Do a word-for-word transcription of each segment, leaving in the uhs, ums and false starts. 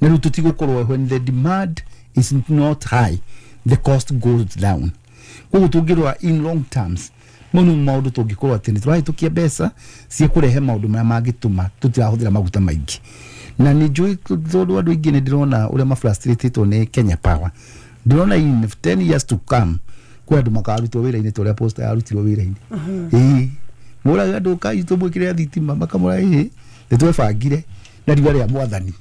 Na rĩu tũtigũkorwo, when the demand is not high, the cost goes down. Koguo tũngĩrora in long terms, mau nĩ maũndũ tũngĩkorwo atĩ nĩ tũrahĩtũkia mbeca cia kũrehe maũndũ marĩa mangĩtũma tũtirahũthĩra maguta maingĩ. Na nĩ njũĩ, tondũ andũ aingĩ nĩ ndĩrona ũrĩa mafrustratĩtwo nĩ Kenya Power. Ndĩrona in ten years to come kwĩ andũ makarutwo wĩra-inĩ ta ũrĩa Posta yarutirwo wĩra-inĩ. Ĩĩ, mũraga andũ kai tũmwĩkĩre thitima, makamũra ĩĩ nĩ twebangire na riũa rĩa mwathani.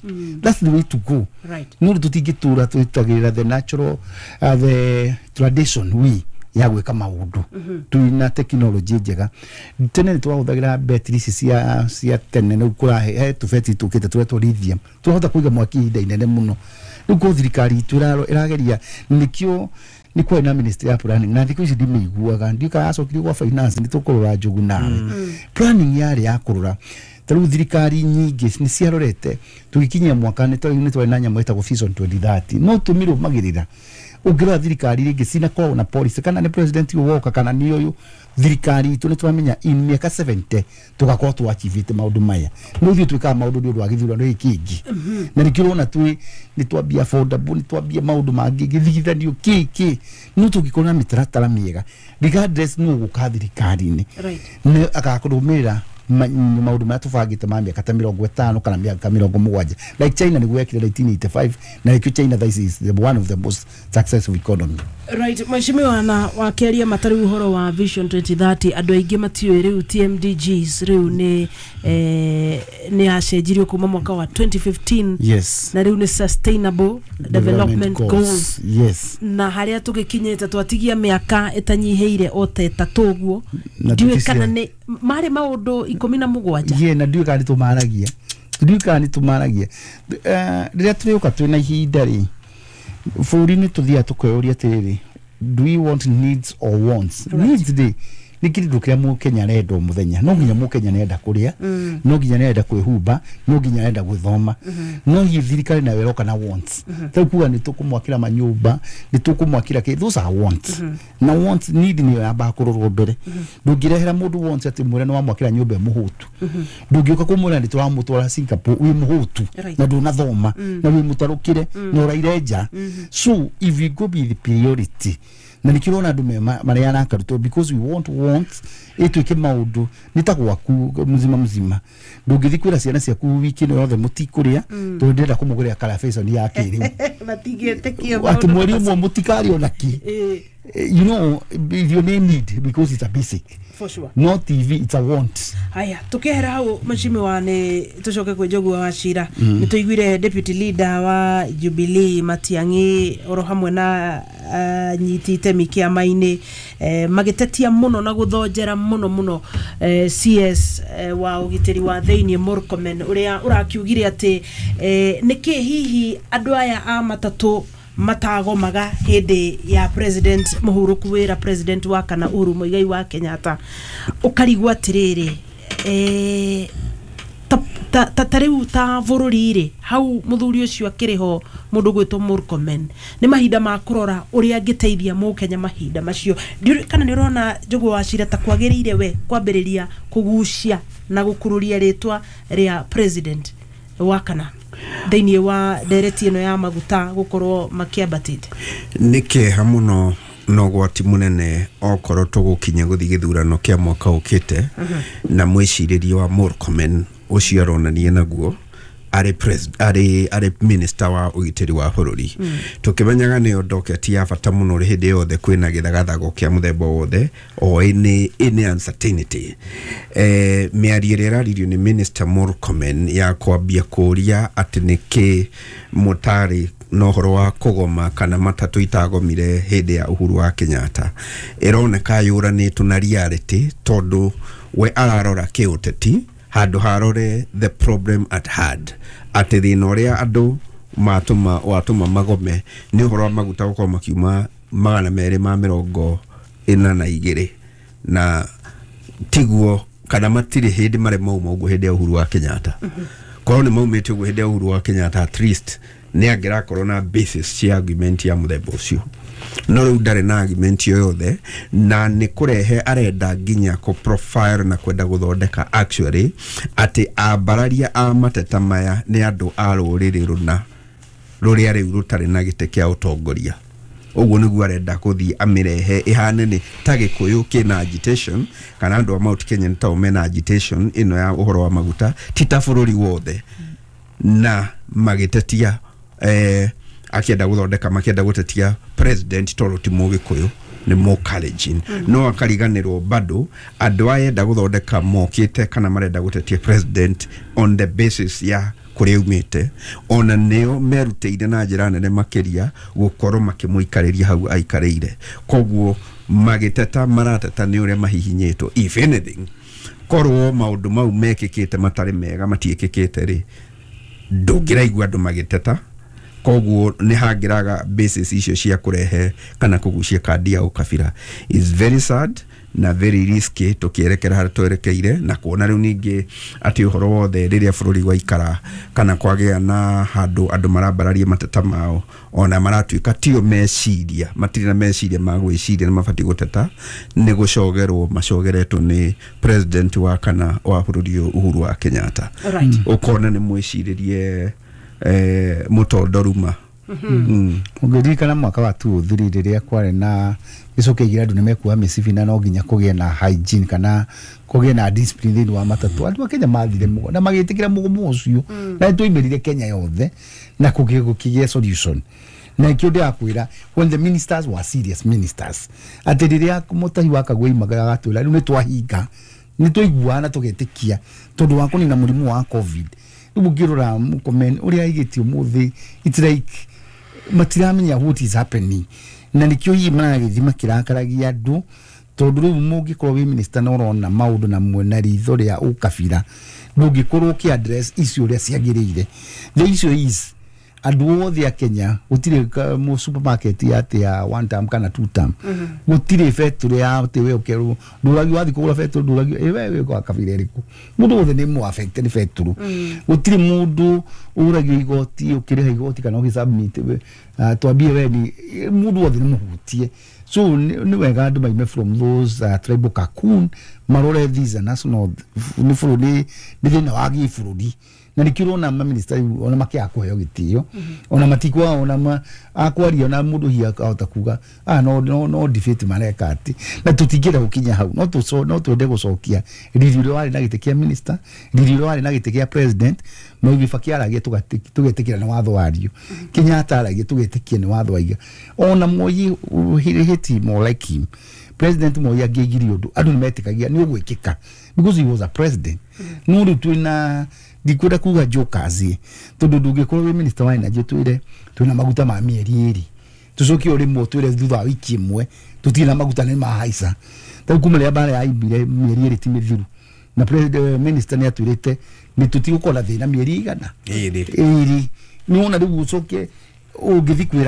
That's the way to go. Right. No rĩ, tũtingĩtũra twĩtagĩrĩra the natural uh, the tradition we ya gwĩka maũndũ twĩna technology njega. Tene nĩ twahũthagĩra betri ici cia cia tene. Rĩu kũrahe he tũbetri tũkĩte tũretwo lithium, tũrahota kũiga mwaki ihinda inene mũno. Rĩu ko thirikari itũ ĩraro- ĩrageria, nĩkĩo nĩ kwarĩ na ministry ya planning, na thikũ ici ndimĩiguaga, ndiũĩ kana yacokirio gwa finance. Nĩ tũkũrora njugu nawe. Planning yarĩ ya kũrora ta rĩu thirikari nyingĩ nĩ ciarorete tũgĩkinyia mwaka nĩ twarĩ nĩ twarĩ na nyamũ ĩtagwo Vision twenty thirty, no tũmĩrũmagĩrĩra. Ũngĩrora thirikari rĩngĩ cinakoragwo na policy, kana nĩ president ũyũ woka kana nĩ ũyũ, thirikari itũ nĩ tũramenya in mĩaka seventy tũgakorwo twachievĩte maũndũ maya. No ithuĩ twĩkaga maũndũ nĩ ũndũ wa gĩthurano gĩkĩ kĩngĩ, na nĩkĩo ũrona twĩ nĩ twambia affordable, nĩ twambia maũndũ mangĩ gĩthigithanio kĩ kĩ. No tũngĩkorwo na mĩtaratara mĩega, regardless nũ ũgũka thirikari-inĩ, Right. nĩ agakũrũmĩrĩra ma- maũndũ marĩa tũbangĩte ma mĩaka ta mĩrongo ĩtano kana mĩaka mĩrongo mũgwanja, like China nĩguo yekire nineteen eighty-five, na nĩkĩo China thaa ici is the one of the most successful economy. Right, mheshimiwa, na wakeria matari uhoro wa Vision twenty thirty, andũ aingĩ matiũĩ rĩu T M D Gs rĩu nĩ eh, nĩ yacenjirio kuma mwaka wa twenty fifteen, yes na rĩu nĩ Sustainable Development Goals. Yes. Na harĩa tũgĩkinyĩte twatigia mĩaka ĩtanyihĩire o ta ĩtatũ ũguo. Na ndiũĩ tũticia- kana nĩ marĩ maũndũ ikũmi na mũgwanja. Ye, na ndiũĩ kana nĩ tũmaragia, ndiũĩ kana nĩ tũmaragia. Eh, rĩrĩa tũrĩũka twĩna ihinda rĩ bũrũri-inĩ, tũthiaga tũkeyũria atĩrĩrĩ, do we want needs or wants? Right. Needs rĩ, nĩ kĩndũ kĩrĩa mũkenya arenda o mũthenya. No nginya mũkenya nĩarenda kũrĩa, no nginya nĩarenda kwĩhumba, no nginya arenda gwĩthoma. No hihi thirikari nayo ĩroka na wants, rĩu kuga nĩ tũkũmwakĩra manyũmba, nĩ tũkũmwakĩra kĩ, those are wants. Na wants, need nĩyo yambaga kũrorwo mbere. Ndũngĩrehera mũndũ wants atĩ mwĩre nĩ wamwakĩra nyũmba ĩ mũhũtu. Ndũngĩũka kũmwĩra nĩ tũramũtwara Singapore wĩ mũhũtu Right. na ndũnathoma na wĩ mũtarũkĩre na ũraire nja. So if we go with the priority, na nĩkĩo ũrona andũ me- ma- marĩa arakarutwo, because we want wants ĩtuĩke maũndũ nĩ ta gwaku mzima mzima. Ndũngĩthiĩ kwĩra ciana ciaku wiki ĩno yothe mũtikũrĩa tondũ ndĩrenda kũmũgũrĩra karabeconi ya kĩrĩu, matingĩtĩkia. Atĩ mweri ũmwe mũtikarĩa ona kĩ. Eh, You know irio nĩ need because it's a basic, for sure. No T V, it's a want. Haya, tukehera hau, mheshimiwa, nĩ tũcoke kwĩ Njũgũa wa Cira. Nĩ tũiguire deputy leader wa Jubilee Matiang'i oro hamwe na uh, nyiti itemi kĩama-inĩ eh, magĩtetia mũno na gũthonjera mũno mũno eh, C S eh, wa ũgitĩri wa thĩinĩ Murkomen, ũrĩa ũrakiugire atĩ eh, nĩkĩ hihi andũ aya a matatũ matagomaga hĩndĩ ya president mũhurũku wĩra, president wa kana Uhuru Muigai wa Kenyatta. Ũkarigwo atĩrĩrĩ, eh, ta ta ta ta rĩu ta bũrũri rĩ, hau mũthuri ũcio akĩrĩ ho, mũndũ gwĩtwo Murkomen, nĩ mahinda ma kũrora ũrĩa angĩteithia mũkenya mahinda macio. Ndiũĩ kana nĩ ũrona Njũgũ wa Cira ta kwagĩrĩire we kwambĩrĩria kũgucia na gũkururia rĩtwa rĩa president wa kana thĩinĩ wa ndereti ĩno ya maguta gũkorwo makĩambatĩte. Nĩ kĩeha mũno na ũgwati mũnene okorwo tũgũkinya gũthiĩ gĩthurano kĩa mwaka ũkĩte na mwĩcirĩrie wa Murkomen ũcio aronania naguo arĩ pres- arĩ arĩ minister wa ũgitĩri wa bũrũri, tũkĩmenyaga nĩyo docket ya bata mũno hĩndĩ yothe kwĩna gĩthagathago kĩa mũthemba wothe o any, any uncertainty. eh, mĩario ĩrĩa ĩraririo nĩ Minister Murkomen ya kwambia kũria atĩ nĩkĩ mũtarĩ na ũhoro wa kũgoma kana matatũ itagomire hĩndĩ ya Uhuru wa Kenyatta, ĩroneka yũranĩtwo na reality, tondũ we ararora kĩũteti handũ harore the problem at hand, atĩ thĩna ũrĩa andũ matũma watũma magome nĩ ũhoro wa maguta gũkorwo makiuma magana merĩ ma mĩrongo ĩna na igĩrĩ, na tiguo kana matirĩ hĩndĩ marĩ mauma ũguo hĩndĩ ya Uhuru wa Kenyatta. Korwo nĩ maumĩte ũguo hĩndĩ ya Uhuru wa Kenyatta, at least nĩ angĩrakorwo na basis cia argument ya mũthemba ũcio, no rĩu ndarĩ na argument yo yothe, na nĩ kũrehe arenda nginya kũ profile na kwenda gũthondeka actually atĩ ambararia a mateta maya nĩ andũ a rũrĩrĩ rũna. Rũrĩa rĩu rũtarĩ na gĩtĩ kĩa ũtongoria. Ũguo nĩguo arenda kũthiĩ amĩrehe ĩhane nĩ ta Gĩkũyũ kĩna agitation, kana andũ a Mount Kenya nĩ tao mena agitation ĩno ya ũhoro wa maguta, ti ta bũrũri wothe. Na magĩtetia, eh, akĩenda gũthondeka, makĩenda gũtetia president tondũ ti Mũgĩkũyũ, nĩ Mũkalenjin. No akariganĩrwo bado andũ aya enda gũthondeka mokĩte kana marenda gũtetia president on the basis ya kũrĩa aumĩte, ona nĩo merutĩire na njĩra nene makĩria gũkorwo makĩmũikarĩria hau aikarĩire. Koguo magĩteta marateta nĩ ũrĩa mahihinyĩtwo. If anything, korwo maũndũ mau mekĩkĩte matarĩ mega matiĩkĩkĩte rĩ, ndũngĩraigua andũ magĩteta. Koguo nĩ hangĩraga basis icio cia kũrehe kana kũgucia kandi ya ũkabira. Is very sad na very risky tũkĩerekera harĩa twerekeire, na kuona rĩu ningĩ atĩ ũhoro wothe rĩrĩa bũrũri waikara kana kwagĩa na handũ andũ marambararia mateta mao, ona maratuĩka tio meciria, matirĩ na meciria ma gwĩciria nĩ mabatiĩ gũteta, nĩ gũcogerwo macogeretwo nĩ president wa kana wa bũrũri ũyũ, Uhuru wa Kenyatta. Alright. Ũkona nĩ mwĩcirĩrie eh, mũtondoruma mm. Ũngĩririkana mwaka wa two oh three rĩrĩa kwarĩ na gĩcoke igĩra, andũ nĩ mekuoha mĩcibi na no nginya kũgĩe na hygiene kana kũgĩe na discipline thĩinĩ wa matatũ. Andũ a Kenya mathire mũgomo na magĩtĩkĩra mũgomo ũcio, na nĩtwaimĩrire Kenya yothe na kũgĩe gũkĩgĩa solution. Na ikĩo ndĩrakwĩra, when the ministers were serious ministers, atĩ rĩrĩa Mũtahi wa Kagwe oimaga agatwĩra rĩu nĩ twahinga, nĩ twaiguana na tũgetĩkia tondũ wa kũnina mũrimũ wa COVID. Rĩu ũngĩrora Murkomen ũrĩa aigĩte ũmũthĩ, it's like matiramenya what is happening, na nikio hihi maragĩthiĩ makĩrakaragia andũ, tondũ rĩu mũngĩkorwo wĩ minister na ũrona maũndũ na mwena ritho rĩa ũkabira, ndũngĩkorwo ũkĩ address icio ũrĩa ciagĩrĩire. The issue is andũ othe a Kenya, gũtirĩ ka- mu supermarket ya atĩ ya one term kana two term, gũtirĩ betũrĩ ya atĩ we ũkerwo ndũragio wathiĩ kũgũra betũrĩ, ndũragio ĩ we wĩ kwa kabira ĩrĩkũ. Mũndũ wothe nĩ mũ affected nĩ betũrũ. Gũtirĩ mũndũ ũragio igoti, ũkĩrĩha igoti kana ũgĩ submit, uh, twambie we ni mũndũ wothe nĩ mũhutie. So nĩ nĩ wega andũ maime from those uh, tribal cocoon, marore these are national, nĩ bũrũri, nĩ thĩna wa gĩbũrũri. Na nĩkĩo ũrona maminista rĩu ona makĩaga kũheo gĩtĩo, ona matikwa ona ma, akwaria ona mũndũ hihi akahota kuga, ah, no, no, no debate mareka atĩ na tũtingĩenda gũkinya hau. No tũco, no twende gũcokia riri ũrĩa warĩ na gĩtĩ kĩa minister, riri ũrĩa warĩ na gĩtĩ kĩa president. Mwai Kibaki aragia tũgetĩkĩra nĩ watho wario, Kenyatta aragia tũgetĩkia nĩ watho waiga, ona Moi hit more like him. President Moi angĩaigire ũndũ, andũ nĩ metĩkagia nĩ ũgwĩkĩka because he was a president. No rĩu twĩna, ndikwenda kuga jokers, tondũ ndũngĩkorwo wĩ minister wa energy twĩre twĩna maguta ma mĩeri ĩrĩ, tũcoke o rĩmwe twĩre thutha wa wiki ĩmwe tũtirĩ na maguta, nĩ mahaica. Tarĩu kuma rĩrĩa mbara yaimire, mĩeri ĩrĩ ti mĩthiru, na president, minister nĩ atwĩrĩte nĩ tũtigũkorwo na thĩna mĩeri igana Ĩrĩ. Ĩrĩ. Nĩ wona rĩu ũcoke ũngĩthi kwĩra